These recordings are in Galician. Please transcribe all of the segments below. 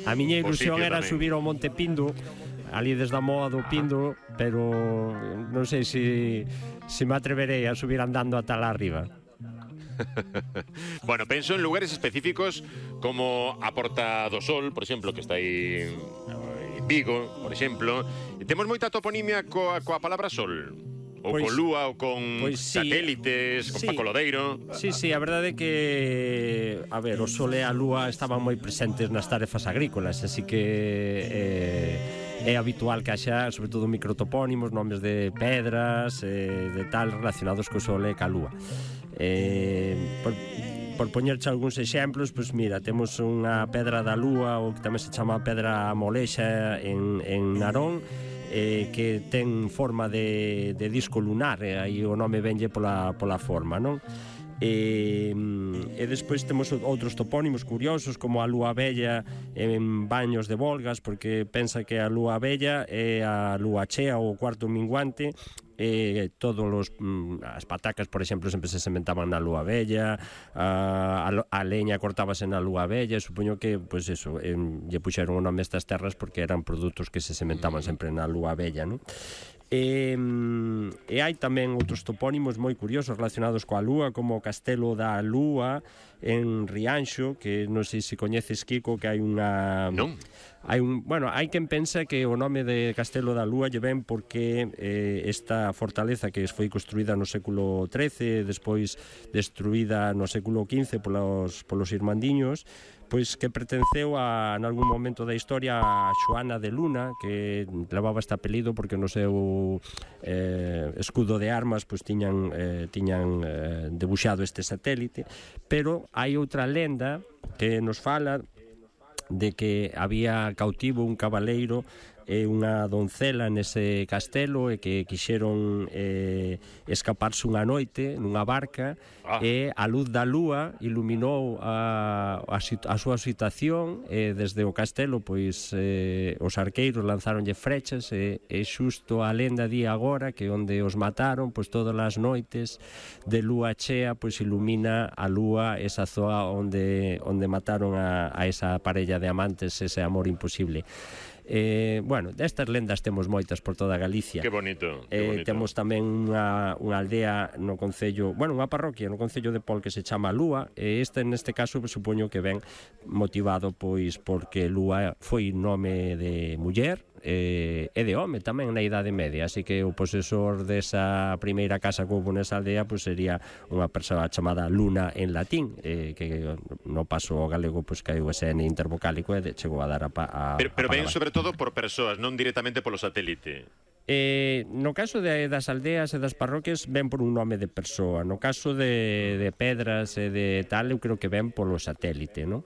A miña ilusión era tamén. subir ao Monte Pindo, ali desde a Moa do Pindo, pero non sei se me atreverei a subir andando ata lá arriba. Bueno, penso en lugares específicos como a Porta do Sol, por exemplo, que está aí en Vigo, por exemplo. E temos moita toponimia coa palabra sol. Ou con lúa, ou con satélites, con Paco Lodeiro. Sí, a verdade é que, a ver, o sol e a lúa estaban moi presentes nas tarefas agrícolas, así que é habitual que haxa, sobre todo, microtopónimos, nomes de pedras, de tal, relacionados co sol e ca lúa. Por poñerche algúns exemplos, pois mira, temos unha pedra da lúa, ou que tamén se chama pedra molexa en Narón, que ten forma de disco lunar, aí o nome venlle pola forma, non? E despois temos outros topónimos curiosos, como a lúa bella en Baños de Volgas, porque pensa que a lúa bella é a lúa chea ou o cuarto minguante. As patacas, por exemplo, sempre se sementaban na lúa bella, a leña cortábase na lúa bella. Supoño que, pois eso, lle puxeron o nome a estas terras porque eran produtos que se sementaban sempre na lúa bella, non? E hai tamén outros topónimos moi curiosos relacionados coa lúa, como o Castelo da Lúa en Rianxo, que non sei se coñeces, Kiko, que hai unha... Non. Hai quen pensa que o nome de Castelo da Lúa lle ven porque esta fortaleza que foi construída no século XIII, despois destruída no século XV polos irmandiños, pois que pertenceu en algún momento da historia a Xoana de Luna, que levaba este apelido porque no seu escudo de armas pois tiñan debuxado este satélite. Pero hai outra lenda que nos fala de que había cautivo un cabaleiro e unha doncela nese castelo e que quixeron escaparse unha noite nunha barca e a luz da lúa iluminou a súa situación e desde o castelo pois os arqueiros lanzáronlle frechas e xusto a lenda di agora que onde os mataron pois todas as noites de lúa chea pois ilumina a lúa esa zoa onde mataron a esa parella de amantes, ese amor imposible. Destas lendas temos moitas por toda Galicia. Que bonito. Temos tamén unha aldea no concello, unha parroquia no concello de Pol que se chama Lúa, e neste caso supoño que ven motivado pois porque Lúa foi nome de muller e de home tamén na Idade Media, así que o posesor desa primeira casa que houve nesa aldea pois sería unha persoa chamada Luna en latín, que no paso ao galego pois caiu ese N intervocálico e chegou a dar pero ven sobre todo por persoas, non directamente polo satélite. No caso das aldeas e das parroquias ven por un nome de persoa. No caso de pedras e de tal, eu creo que ven polo satélite, non?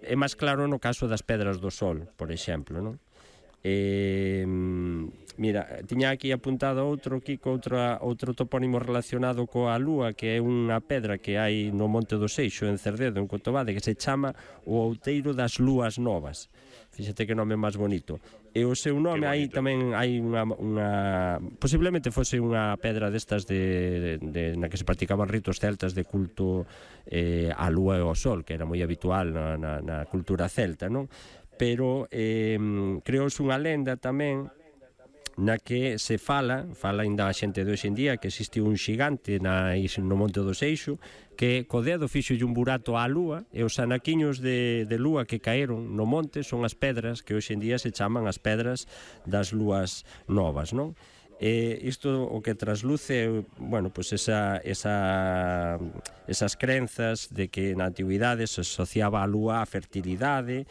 É máis claro no caso das pedras do Sol, por exemplo, non? Mira, tiña aquí apuntado outro topónimo relacionado coa lúa, que é unha pedra que hai no Monte do Seixo, en Cerdedo, en Cotobade, que se chama o Outeiro das Lúas Novas. Fíxate que nome máis bonito. E o seu nome aí tamén hai unha posiblemente fose unha pedra destas na que se practicaban ritos celtas de culto á lúa e ao sol, que era moi habitual na cultura celta, non? Pero creouse unha lenda tamén na que se fala ainda a xente de hoxe en día que existiu un xigante no Monte do Seixo que co dedo fixolle un burato á lúa e os anaquiños de lúa que caeron no monte son as pedras que hoxe en día se chaman as pedras das lúas novas, non? Isto o que trasluce, pois esas crenzas de que na antigüidade se asociaba a lúa á fertilidade,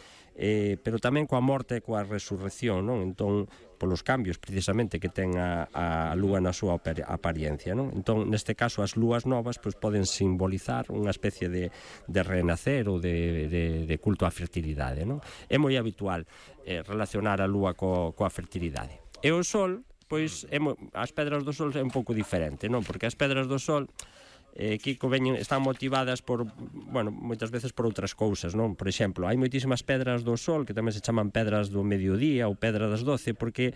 pero tamén coa morte e coa resurrección, non? Entón, polos cambios precisamente que ten a lúa na súa apariencia, non? Entón, neste caso, as lúas novas pois poden simbolizar unha especie de renacer ou de culto á fertilidade, non? É moi habitual relacionar a lúa coa fertilidade. E o sol, pois as pedras do sol é un pouco diferente, non? Porque as pedras do sol Kiko están motivadas por, moitas veces por outras cousas, non? Por exemplo, hai moitísimas pedras do sol que tamén se chaman pedras do mediodía ou pedra das 12 porque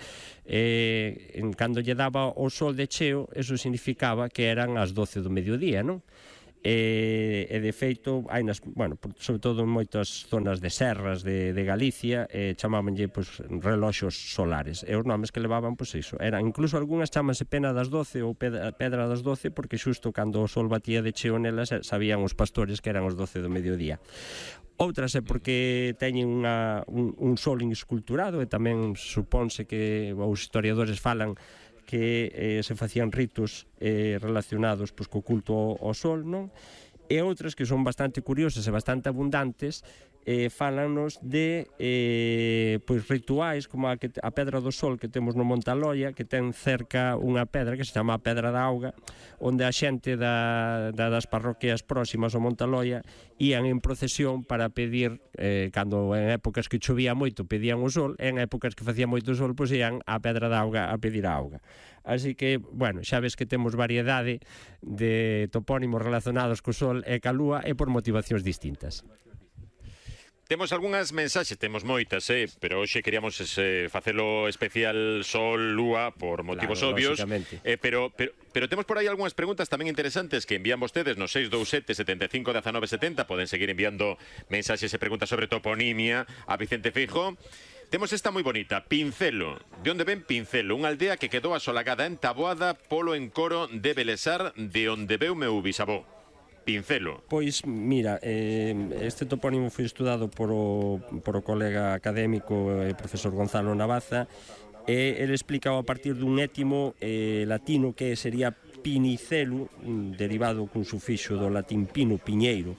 cando lle daba o sol de cheo, eso significaba que eran as 12 do mediodía, non? e de feito hai sobre todo en moitas zonas de serras de Galicia chamábanlle reloxos solares, e os nomes que levaban iso eran, incluso algunhas chamanse pena das 12 ou pedra das 12 porque xusto cando o sol batía de cheo nelas sabían os pastores que eran os 12 do mediodía. Outras é porque teñen un sol esculturado, e tamén supónse que os historiadores falan que se facían ritos relacionados co culto ao sol, non? E outras que son bastante curiosas e bastante abundantes fálanos de rituais como a Pedra do Sol que temos no Montaloia, que ten cerca unha pedra que se chama a Pedra da Auga, onde a xente das parroquias próximas ao Montaloia ían en procesión para pedir, cando en épocas que chovía moito pedían o sol, e en épocas que facía moito sol ían á Pedra da Auga a pedir a auga. Así que, xa ves que temos variedade de topónimos relacionados co sol e ca lúa, e por motivacións distintas. Temos algunhas mensaxes, temos moitas, pero hoxe queríamos facelo especial Sol, Lúa, por motivos obvios. Pero temos por aí algunhas preguntas tamén interesantes que envían vostedes no 627 75 19 70. Poden seguir enviando mensaxes e preguntas sobre toponimia a Vicente Feijóo. Temos esta moi bonita, Pincelo. De onde ven Pincelo? Unha aldea que quedou asolagada en Taboada polo encoro de Belesar, de onde veu meu bisavó. Pincelo. Pois, mira, este topónimo foi estudado por o colega académico e profesor Gonzalo Navaza, e ele explicaba a partir dun étimo latino que sería pinicelo, derivado cun sufixo do latín pino, piñeiro,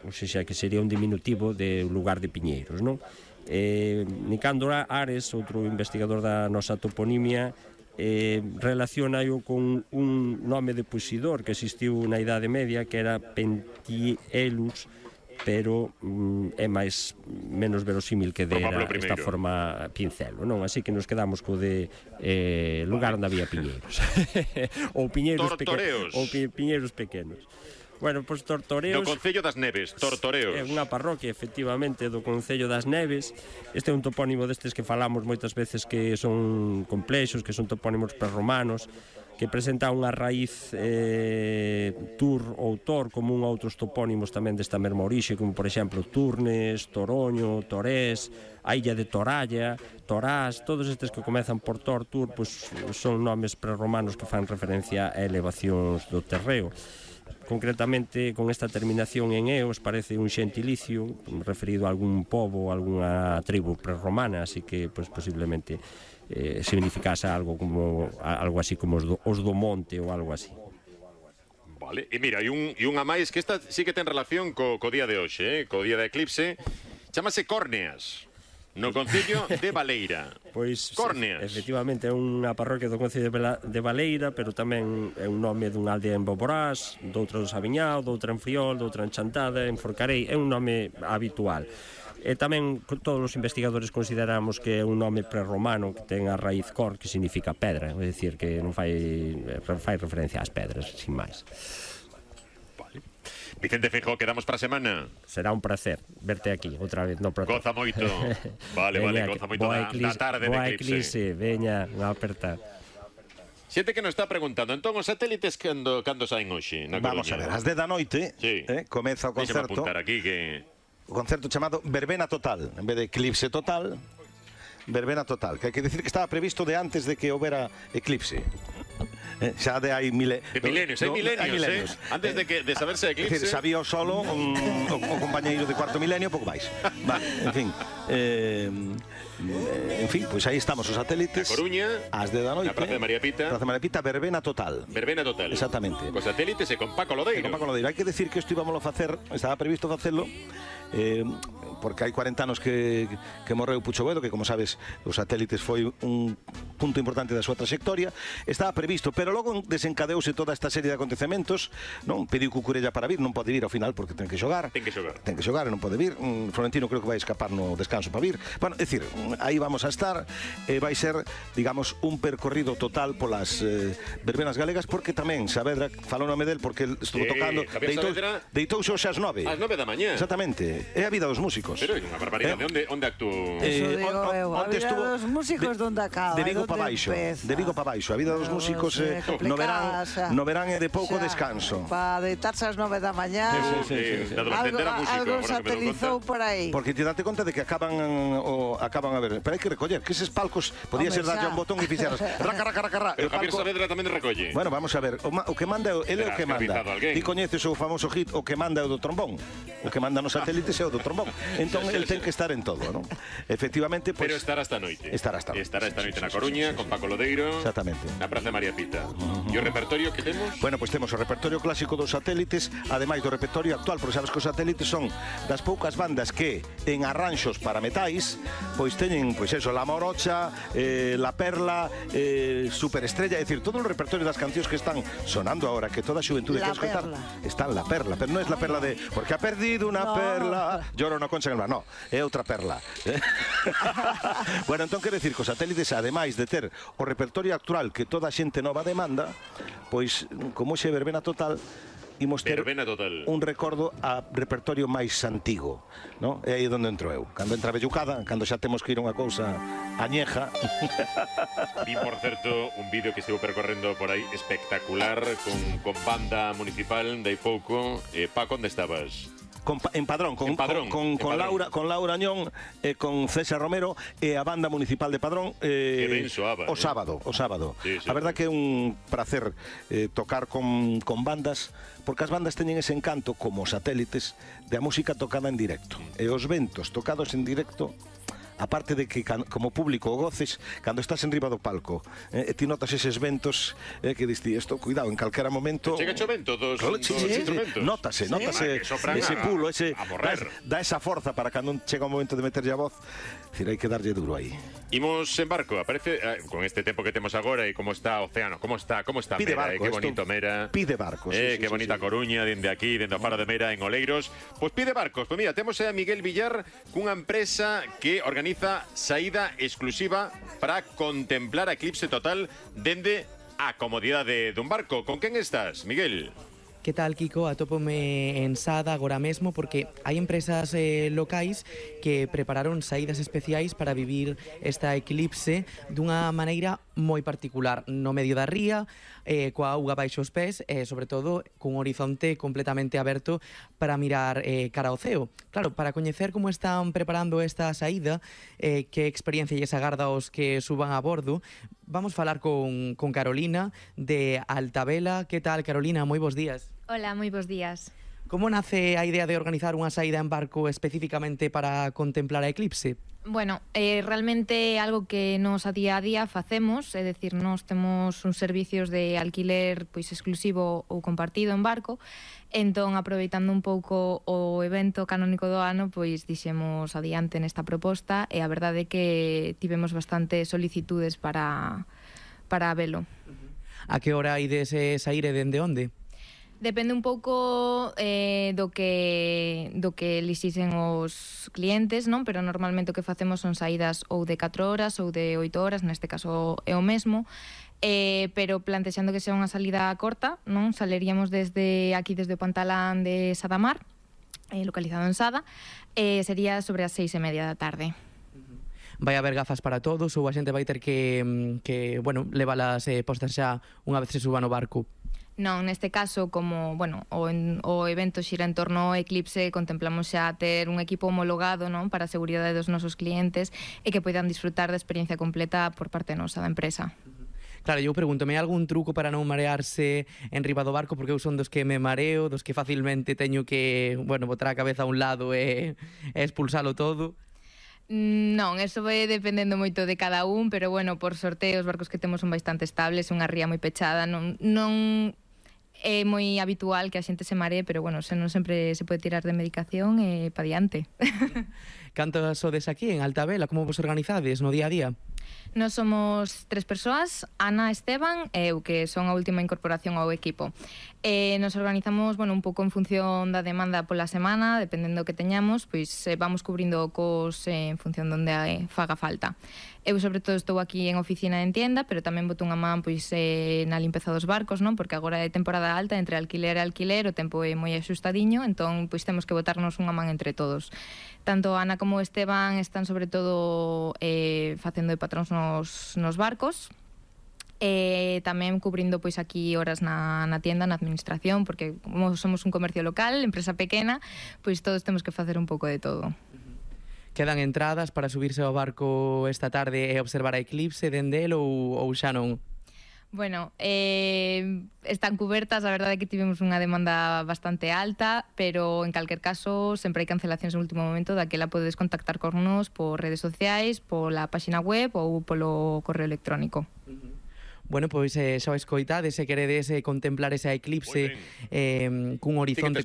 ou seja, que sería un diminutivo de lugar de piñeiros, non? Nicandro Ares, outro investigador da nosa toponimia, relaciona-o con un nome de posidor que existiu na Idade Media, que era Pentielus, pero é menos verosímil que dera esta forma Pincelo, non? Así que nos quedamos co de lugar onde había piñeiros ou piñeiros pequenos. Bueno, pois Tortoreos... Do Concello das Neves, Tortoreos. É unha parroquia, efectivamente, do Concello das Neves. Este é un topónimo destes que falamos moitas veces que son complexos, que son topónimos prerromanos, que presenta unha raíz tur ou tor común a outros topónimos tamén desta mesma orixe, como, por exemplo, Turnes, Toroño, Torés, a illa de Toralla, Torás. Todos estes que comezan por tor, tur, pois son nomes prerromanos que fan referencia a elevacións do terreo. Concretamente, con esta terminación en eos, parece un xentilicio referido a algún pobo, a algunha tribu prerromana, así que posiblemente significase algo así como os do monte ou algo así. Vale, e mira, e unha máis que esta sí que ten relación co día de hoxe, co día de eclipse, chamase Córneas, no Concello de Baleira. Pois, Córneas. Efectivamente, é unha parroquia do Concello de Baleira, pero tamén é un nome dunha aldea en Boborás, doutra do Sabiñao, doutra en Friol, doutra en Chantada, en Forcarei. É un nome habitual. E tamén todos os investigadores consideramos que é un nome prerromano que ten a raíz cor, que significa pedra, é dicir, que non fai referencia ás pedras, sin máis. Vicente Feijóo, quedamos para a semana. Será un placer verte aquí outra vez. Goza moito. Vale, goza moito da tarde de eclipse. Veña, unha aperta. Xente que nos está preguntando, entón os satélites cando saen hoxe na Coruña? Vamos a ver, ás 10 da noite comeza o concerto. Deixa-me apuntar aquí que... O concerto chamado Verbena Total, en vez de Eclipse Total, Verbena Total, que hai que decir que estaba previsto de antes de que houbera eclipse. Xa de hai milenios. Antes de saberse de eclipse. Sabía o solo o compañeiro de cuarto milenio, pouco máis. Vale, en fin, pois aí estamos os satélites. Na Coruña, ás 10 da noite. na Praza de María Pita. Praza de María Pita, Verbena Total. Verbena Total. Exactamente. Cos satélites e con Paco Lodeiro. Hai que decir que isto íbamos a facer, estaba previsto facelo, porque hai 40 anos que morreu Pucho Boedo, que como sabes os satélites foi un punto importante da súa trayectoria. Estaba previsto, pero logo desencadeouse toda esta serie de acontecementos, non? Pediu Cucurella para vir, non pode vir ao final porque ten que xogar. Ten que xogar e non pode vir. Florentino creo que vai escapar no descanso para vir. Bueno, é dicir, aí vamos a estar, vai ser, digamos, un percorrido total polas verbenas galegas, porque tamén Saavedra falou nome del porque estuvo tocando, deitouse hoxe ás 9. Ás 9 da mañá. Exactamente. É a vida dos músicos. músicos. Pero é unha barbaridade. Onde actuou? Eso digo eu, a onte vida estuvo dos músicos donde acaba, de Vigo donde para baixo, empeza. de Vigo para baixo. A vida dos músicos no verán é de pouco descanso. Para deitarse ás 9 da mañá. Da adolescente era músico, Algo agora que me dou satelizou conta. por aí. Porque te date conta de que acaban a ver, pero hai que recoller que eses palcos podía Home, ser darlle xa. un botón e fixeras raca, raca, raca, raca. Pero Javier Saavedra tamén recolle. Bueno, vamos a ver, o que manda ele é o que manda. escravizado alguén. Ti coñeces o famoso hit o que manda é o do trombón. O que manda nos satélites é o do trombón. Entón el ten que estar en todo, non? Efectivamente, pues, Pero estará esta noite. Estará esta noite. Estará esta noite na Coruña, con Paco Lodeiro. Exactamente. Na Praza de María Pita. E o repertorio que temos? Bueno, pois temos o repertorio clásico dos satélites, ademais do repertorio actual, porque sabes que os satélites son das poucas bandas que en arranxos para metais, pois teñen, pois eso, La Morocha, La Perla, Superestrella, é dicir, todo o repertorio das cancións que están sonando ahora, que toda a xuventude La quere escoitar, Perla. está en La Perla, pero non é La Perla de porque ha perdido unha perla, lloro no concha en el mar, no, é outra perla. Bueno, entón quero dicir que os satélites, ademais de ter o repertorio actual que toda a xente nova demanda, pois, como xe verbena total, imos ter Verbena total. un recordo a repertorio máis antigo, no? É aí onde entro eu. Cando entra a vellucada, cando xa temos que ir a unha cousa añeja. Vi, por certo, un vídeo que estivo percorrendo por aí espectacular con banda municipal de aí pouco. Paco, onde estabas? En Padrón, En Padrón, en Padrón. con Laura Ñón, con César Romero e a banda municipal de Padrón ben soaba, o sábado. Sí, sí. A verdad que é un placer tocar con bandas, porque as bandas teñen ese encanto como os satélites de a música tocada en directo. E os ventos tocados en directo, aparte de que como público o goces, cando estás en riba do palco, ti notas eses ventos que diste isto, cuidado, en calquera momento Chega o vento dos instrumentos. Notase Que sopran ese pulo, a morrer. dá esa forza para cando chega o momento de meterlle a voz. Decir, hai que darlle duro aí. Imos en barco, aparece con este tempo que temos agora e como está o océano, como está Pide Mera, barco, que esto bonito Mera. pide barco, sí, Que bonita Coruña, dende aquí, dende o faro de Mera en Oleiros. Pois pide barcos. Pois mira, temos a Miguel Villar cunha empresa que organiza saída exclusiva para contemplar a eclipse total dende a comodidade dun barco. Con quen estás, Miguel? Que tal, Kiko? Atópome en Sada agora mesmo porque hai empresas locais que prepararon saídas especiais para vivir esta eclipse dunha maneira moi particular, no medio da ría, coa auga baixo os pés e, sobre todo, cun horizonte completamente aberto para mirar cara ao ceo. Claro, para coñecer como están preparando esta saída, que experiencia lles agarda aos que suban a bordo, vamos falar con Carolina de Altavela. Que tal, Carolina? Moi bons días. Hola, moi bons días. Como nace a idea de organizar unha saída en barco especificamente para contemplar a eclipse? Bueno, realmente é algo que nos a día facemos, é dicir, nos temos uns servicios de alquiler pois exclusivo ou compartido en barco, entón, aproveitando un pouco o evento canónico do ano, pois dixemos adiante nesta proposta e a verdade é que tivemos bastante solicitudes para velo. A que hora ides saír e dende onde? Depende un pouco do que elixisen os clientes, non? Pero normalmente o que facemos son saídas ou de 4 horas ou de 8 horas, neste caso é o mesmo, pero plantexando que sea unha salida corta, non? Saleríamos desde o Pantalán de Sadamar, localizado en Sada, sería sobre as 6:30 da tarde. Vai haber gafas para todos ou a xente vai ter que levalas postas xa unha vez se suba no barco? Non, neste caso, como, bueno, o evento xira en torno ao eclipse, contemplamos xa ter un equipo homologado, non, para a seguridade dos nosos clientes e que poidan disfrutar da experiencia completa por parte nosa da empresa. Claro, eu pregúntome, algún truco para non marearse en riba do barco? Porque eu son dos que me mareo, dos que facilmente teño que, botar a cabeza a un lado e expulsalo todo. Non, eso vai dependendo moito de cada un, pero bueno, por sorte os barcos que temos son bastante estables, unha ría moi pechada, non é moi habitual que a xente se maree, pero bueno, non sempre se pode tirar de medicación e pa diante. Cantas sodes aquí en Altavela? Como vos organizades no día a día? Nós somos 3 persoas, Ana, Esteban e eu, que son a última incorporación ao equipo. Nos organizamos, un pouco en función da demanda pola semana, dependendo do que teñamos, pois vamos cubrindo cos en función de onde faga falta. Eu, sobre todo, estou aquí en oficina e en tienda, pero tamén boto unha man pois na limpeza dos barcos, non? Porque agora é temporada alta, entre alquiler e alquiler, o tempo é moi axustadiño, entón pois temos que botarnos unha man entre todos. Tanto Ana como Esteban están, sobre todo, facendo de patróns nos barcos, tamén cubrindo pois aquí horas na tienda, na administración, porque como somos un comercio local, empresa pequena, pois todos temos que facer un pouco de todo. Quedan entradas para subirse ao barco esta tarde e observar a eclipse dende el ou xa non? Bueno, están cubertas, a verdade é que tivemos unha demanda bastante alta, pero en calquer caso sempre hai cancelacións en último momento, daquela podedes contactar con nos por redes sociais, pola páxina web ou polo correo electrónico. Bueno, pois xa o escoitades, se queredes contemplar esa eclipse cun horizonte